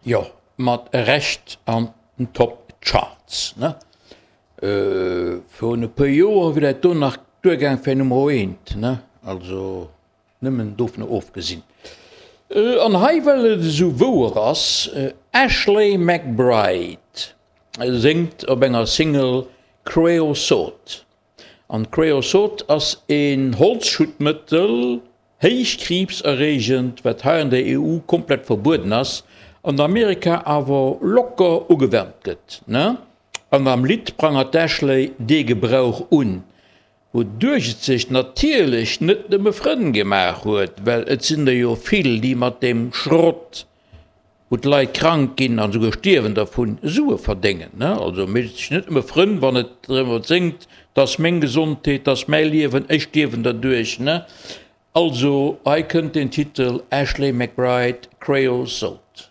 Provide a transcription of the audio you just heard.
Jo, mat Recht an den Top Charts, ne? Virun e puer Joer wier dat do nach duergaang fir Nummer eent, ne? Also nëmmen dovunner ofgesinn. An hei, well et esou wouer ass, Ashley McBryde séngt op enger Single Creosote. An Creosote ass een Holzschuttmëttel, héich kriibserreegend, wat hei an der EU komplett verbueden ass, an Amerika awer locker ugewennt gëtt. An am Lidd prangert d'Ashley dee Gebrauch un, wouduerch et sech natierlech net nëmme Frënn gemaach huet, well et sinn der jo vill, déi mat deem Schrott, wou d'Leit krank ginn an esouguer stierwen dervun, Sue verdéngen. Also mécht et sech net nëmme Frënn, wann et drëm séngt, 't ass meng Gesondheet, 't ass mäi Liewen, ech stierwen derduerch. Also hei kënnt den Titel, Ashley McBryde, Creosote.